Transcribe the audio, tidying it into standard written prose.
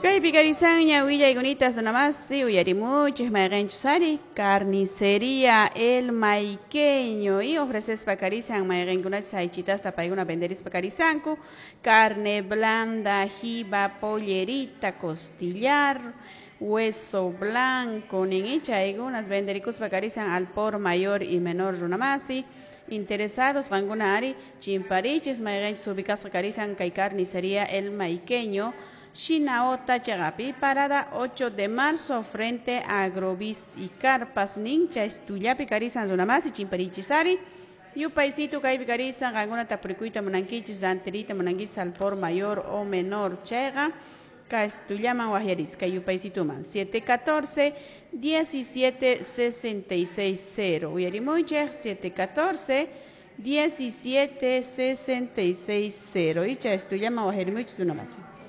Kaypi karisanña willaykunita runamasi uyarimuchik mayqinchus ari carnicería El Maiqueño y ofrecespa karisan mayqinkunachus aychitasta paykuna venderispa karisanku carne blanda, jiba, pollerita, costillar, hueso blanco nin chaykunas venderikuspa karisan al por mayor y menor runamasi. Interesados qankuna ari chimparichis mayqinchus ubicasqa karisan kay carnicería El Maiqueño Shinaota Chagapi, parada 8 de marzo, frente a Agrobis y Carpas, Nincha, Estullapi, Carisan, Runamasi, Chimparichis, Yupaysito, Kaypi Carisan, qankuna tapurikuyta munankichis, rantiriyta munankichis al por mayor o menor, chayqa, Castullaman waqyarisqa, yupaysituman, 714 17 66 0, uyarimuychik, 714 17 66 0, icha estullaman waqyarimuychis runamasi.